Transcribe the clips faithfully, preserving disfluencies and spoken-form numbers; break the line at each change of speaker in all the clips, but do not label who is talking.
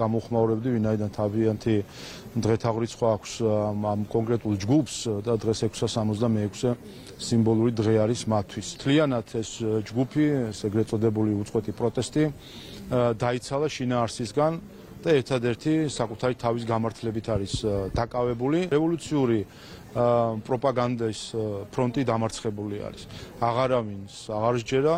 გამოხმაურებდი, ვინაიდან თავიანთი დღეთაღრიცხვა აქვს ამ კონკრეტულ ჯგუფს და დღეს ექვსი სამოცდამეექვსე სიმბოლური დღე არის მათთვის. მთლიანად ეს ჯგუფი, ეს ეგრეთ წოდებული უწყვეტი პროტესტი დაიცალა შინაარსისგან და ერთადერთი საკუთარი თავის გამართლებით არის დაკავებული. რევოლუციური პროპაგანდის ფრონტი დამარცხებული არის. აღარავინს აღარ სჯერა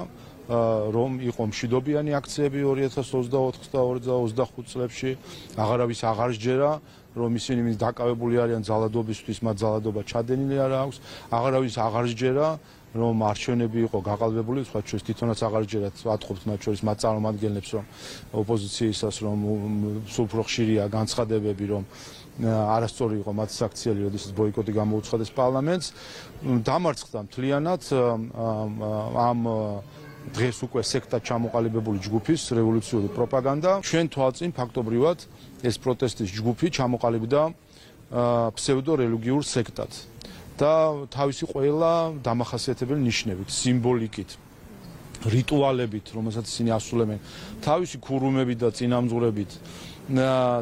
რომ იყო მშვიდობიანი აქციები ორი ათას ოცდაოთხ და ორი ათას ოცდახუთ წლებში, აღარავის აღარ სჯერა რომ ისინი დაკავებული არიან ძალადობისთვის, მათ ძალადობა ჩადენილი არ აქვს, აღარავის აღარ სჯერა რომ არჩევნები იყო გაყალბებული, სხვა შორის თვითონაც აღარ სჯერათ, ვატყობთ მათ შორის მათ წარმომადგენლებს, რომ ოპოზიციისას რომ სულ უფრო ხშირია განცხადებები, რომ არასწორი იყო მათი აქციელი, როდესაც ბოიკოტი გამოუცხადეს პარლამენტს. დამარცხდა მთლიანად ამ დღეს უკვე სექტად ჩამოყალიბებული ჯგუფის რევოლუციური პროპაგანდა. ჩვენ თვალწინ ფაქტობრივად ეს პროტესტის ჯგუფი ჩამოყალიბდა ფსევდორელიგიურ სექტად და თავისი ყველა დამახასიათებელი ნიშნებით, სიმბოლიკით, რიტუალებით, რომელსაც ისინი ასრულებენ, თავისი ქურუმებით და წინამძღვრებით,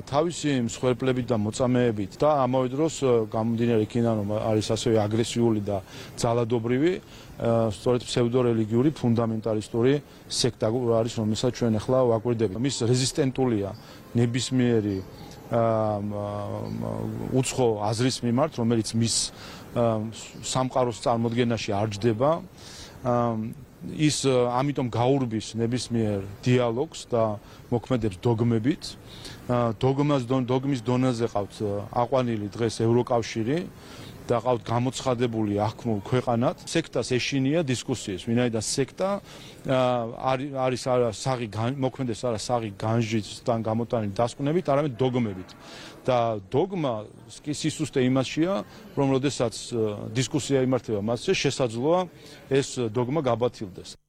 თავისი მსხვერპლებით და მოწამეებით და ამავე დროს გამომდინარე იქიდან რომ არის ასევე აგრესიული და ძალადობრივი, სწორედ ფსევდორელიგიური ფუნდამენტალისტური სექტა არის, რომელსაც ჩვენ ახლა ვაკვირდებით. მის რეზისტენტულია ნებისმიერი უცხო აზრის მიმართ, რომელიც მის სამყაროს წარმოდგენაში არ ჯდება. ის ამიტომ გაურბის ნებისმიერ დიალოგს და მოქმედებს დოგმებით. დოგმას დოგმის დონეზე ყავთ აყვანილი დღეს ევროკავშირი და ყავთ გამოცხადებული აღქმულ ქვეყანად. სექტას ეშინია დისკუსიის, ვინაიდან სექტა არის არა საღი მოქმედეს არა საღი განჯისთან გამოტანილი დასკვნებით, არამედ დოგმებით. და დოგმა კი სისუსტე იმაშია, რომ როდესაც დისკუსია იმართება მასზე, შესაძლოა ეს დოგმა გაბათილდეს.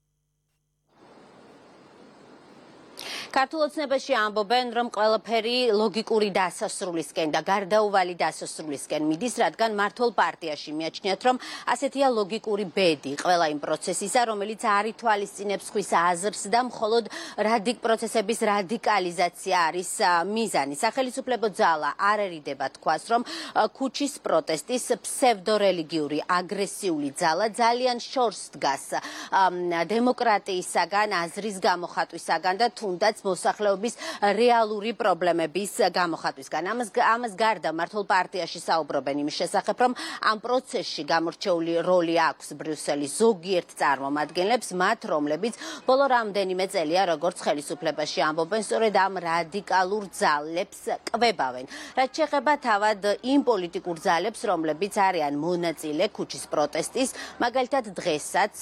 ქართულ ოცნებაში ამბობენ, რომ ყველაფერი ლოგიკური დასასრულისკენ და გარდაუვალი დასასრულისკენ მიდის, რადგან მმართველ პარტიაში მიაჩნიათ, რომ ასეთია ლოგიკური ბედი ყველა იმ პროცესისა, რომელიც არ ითვალისწინებს ხვის აზრს და მხოლოდ რადიკ პროცესების რადიკალიზაცია არის მიზანი. სახელმწიფო ძალა არერიდება თქვას, რომ ქუჩის პროტესტის ფსევდორელიგიური აგრესიული ძალა ძალიან შორს დგას დემოკრატიისაგან, აზრის გამოხატვისაგან და თუნდაც მოსახლეობის რეალური პრობლემების გამოხატვისგან. ამას ამას გარდა მმართველ პარტიაში საუბრობენ იმის შესახებ, რომ ამ პროცესში გამორჩეული როლი აქვს ბრიუსელის ზოგიერთ წარმომადგენლებს, მათ რომლებიც ბოლო რამდენიმე წელია როგორც ხელისუფლებაში ამბობენ, სწორედ ამ რადიკალურ ძალებს კვებავენ. რაც შეეხება თავად იმ პოლიტიკურ ძალებს, რომლებიც არიან მონაწილე ქუჩის პროტესტის, მაგალითად დღესაც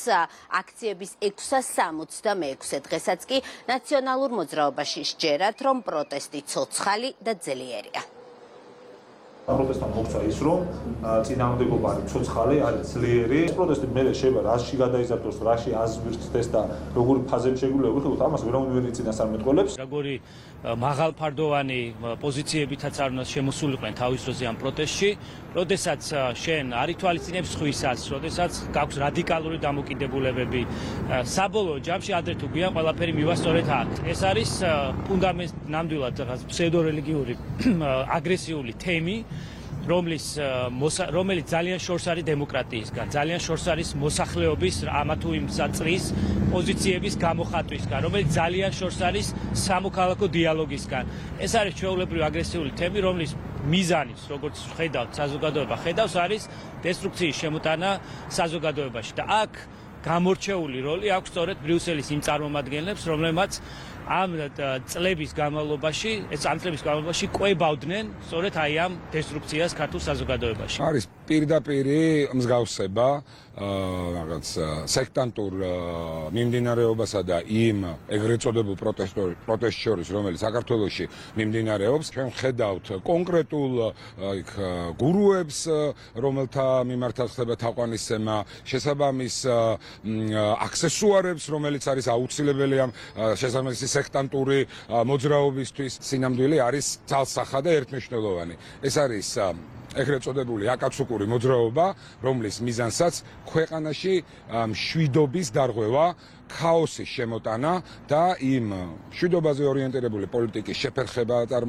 აქციების ექვსი სამოცდამეექვსე დღესაც კი ნაციონალურ მოძრაობაში სჯერათ, რომ პროტესტი ცოცხალი და ძლიერია.
პროტესტთან მოხდა ის, რომ წინააღმდეგობა არის ცოცხალი, არის ძლიერი. პროტესტი მე შეიძლება რაში გადაიზარდოს, რაში აზვირთდეს და როგორი ფაზები შეგვიძლია ვიხილოთ, ამას ვერავინ ვერ იცინას არ მეტყველებს.
როგორი მაღალფარდოვანი პოზიციებითაც არ უნდა შემოსულიყვნენ თავის დროზე ამ პროტესტში, როდესაც შენ არ ითვალისწინებს ხვისას, როდესაც გაქვს რადიკალური დამოკიდებულებები, საბოლოო ჯამში ადრე თუ გვიან ყველაფერი მივა სწორედ აქ. ეს არის ფუნდამენტ ნამდვილად რაღაც ფსევდორელიგიური აგრესიული თემი, რომლის რომელიც ძალიან შორს არის დემოკრატიისგან, ძალიან შორს არის მოსახლეობის ამა თუ იმ წრის პოზიციების გამოხატვისგან, რომელიც ძალიან შორს არის სამოქალაქო დიალოგისგან. ეს არის ჩვეულებრივი აგრესიული თემი, რომლის მიზანის, როგორც ხედავთ, საზოგადოება ხედავს, არის დესტრუქციის შემოტანა საზოგადოებაში და აქ გამორჩეული როლი აქვს სწორედ ბრიუსელის იმ წარმომადგენლებს, რომლებმაც ამ წლების განმავლობაში, ეს ამ წლების განმავლობაში კვებავდნენ სწორედ აი ამ დესტრუქციას ქართულ საზოგადოებაში.
არის პირდაპირი მსგავსება რაღაც სექტანტურ მიმდინარეობასა და იმ ეგრეთ წოდებულ პროტესტ შორის, რომელიც საქართველოში მიმდინარეობს. ჩვენ ხედავთ კონკრეტულ იქ გურუებს, რომელთა მიმართაც ხდება თაყვანისცემა, შესაბამის აქსესუარებს, რომელიც არის აუცილებელი ამ შესაბამისი სექტანტური მოძრაობისთვის. სინამდვილე არის ძალსახა და ერთმნიშვნელოვანი. ეს არის ეგრეთ წოდებული აკაცუკური მოძრაობა, რომლის მიზანსაც ქვეყანაში მშვიდობის დარღვევა, ქაოსის შემოტანა და იმ მშვიდობაზე ორიენტირებული პოლიტიკის შეფერხება